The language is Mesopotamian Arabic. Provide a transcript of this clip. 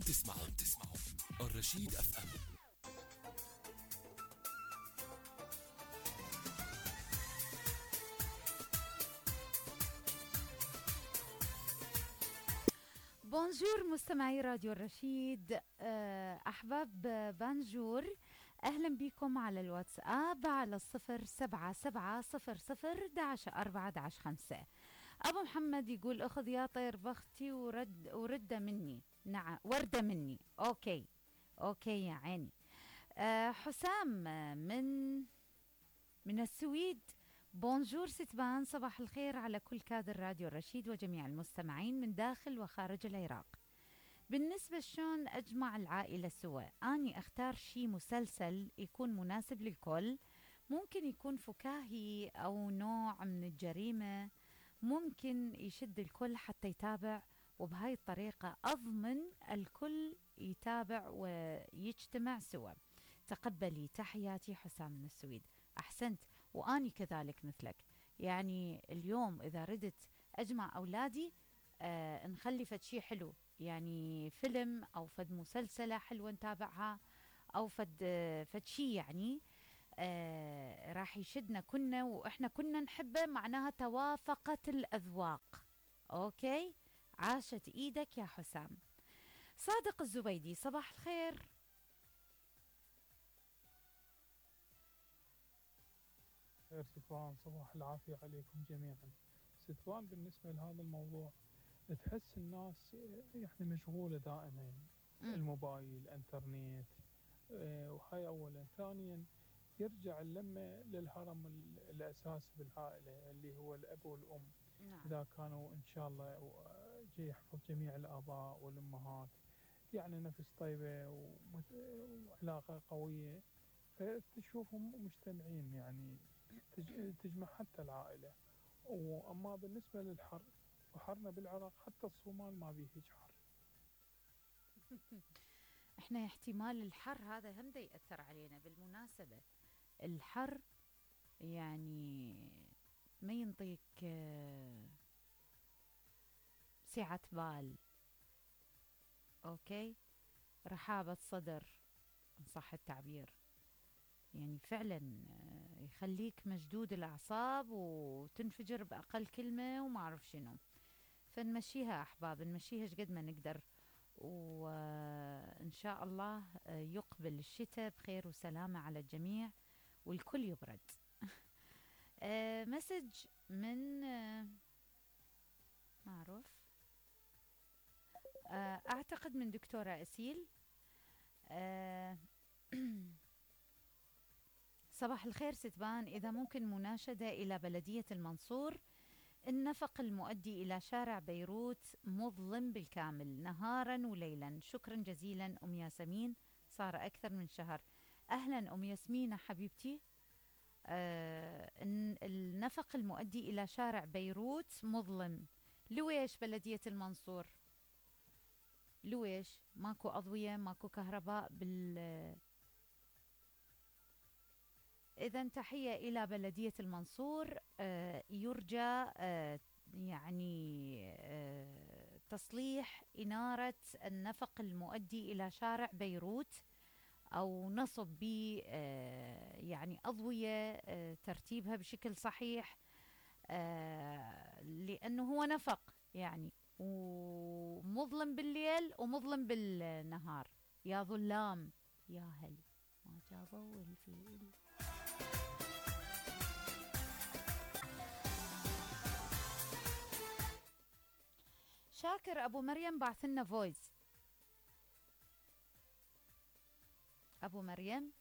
تسمعوا الرشيد اف ام. بونجور مستمعي راديو الرشيد، أحباب بانجور، أهلا بكم على الواتساب على 07700 11 4 11 5. أبو محمد يقول أخذ يا طير بختي ورد مني، نعم وردة مني. أوكي يا عيني. حسام من السويد، بونجور ستبان، صباح الخير على كل كادر راديو الرشيد وجميع المستمعين من داخل وخارج العراق. بالنسبة شلون أجمع العائلة سوا، أني أختار شي مسلسل يكون مناسب للكل، ممكن يكون فكاهي أو نوع من الجريمة، ممكن يشد الكل حتى يتابع، وبهاي الطريقة أضمن الكل يتابع ويجتمع سوا. تقبلي تحياتي حسام من السويد. أحسنت، وأني كذلك مثلك. يعني اليوم إذا ردت أجمع أولادي نخلي فد شي حلو، يعني فيلم أو فد مسلسلة حلوة نتابعها، أو فد شي يعني راح يشدنا كنا وإحنا كنا نحبه، معناها توافقت الأذواق. أوكي، عاشت إيدك يا حسام. صادق الزبيدي، صباح الخير. خير ستوان، صباح العافية عليكم جميعا. ستوان، بالنسبة لهذا الموضوع تحس الناس يعني مشغولة دائما، الموبايل، انترنت، وهاي أولا. ثانيا يرجع اللمة للهرم الأساسي بالعائلة اللي هو الأب والأم. نعم. إذا كانوا إن شاء الله جاي يحفظ جميع الآباء والأمهات، يعني نفس طيبة وعلاقة قوية، فتشوفهم مجتمعين، يعني تجمع حتى العائلة. وأما بالنسبة للحر، وحرنا بالعراق حتى الصومال ما بيه هيج حر. احنا احتمال الحر هذا هم دا يأثر علينا. بالمناسبة الحر يعني ما ينطيك سعة بال، اوكي، رحابة صدر ان صح التعبير، يعني فعلا يخليك مشدود الأعصاب وتنفجر بأقل كلمة وما أعرف شنو. فنمشيها أحباب، نمشيها قد ما نقدر، وإن شاء الله يقبل الشتاء بخير وسلامة على الجميع والكل يبرد. مسج من ما أعرف، أعتقد من دكتورة أسيل. صباح الخير ستبان، إذا ممكن مناشدة إلى بلدية المنصور، النفق المؤدي إلى شارع بيروت مظلم بالكامل نهارا وليلا. شكرا جزيلا أم ياسمين، صار أكثر من شهر. أهلا أم ياسمين حبيبتي. النفق المؤدي إلى شارع بيروت مظلم، لويش بلدية المنصور؟ لويش ماكو أضوية، ماكو كهرباء إذن تحية إلى بلدية المنصور. يرجى يعني تصليح إنارة النفق المؤدي إلى شارع بيروت، أو نصب ب يعني أضوية ترتيبها بشكل صحيح، لأنه هو نفق يعني، ومظلم بالليل ومظلم بالنهار. يا ظلام يا هل ما جابوا الفيل. شاكر أبو مريم بعث لنا فويس. أبو مريم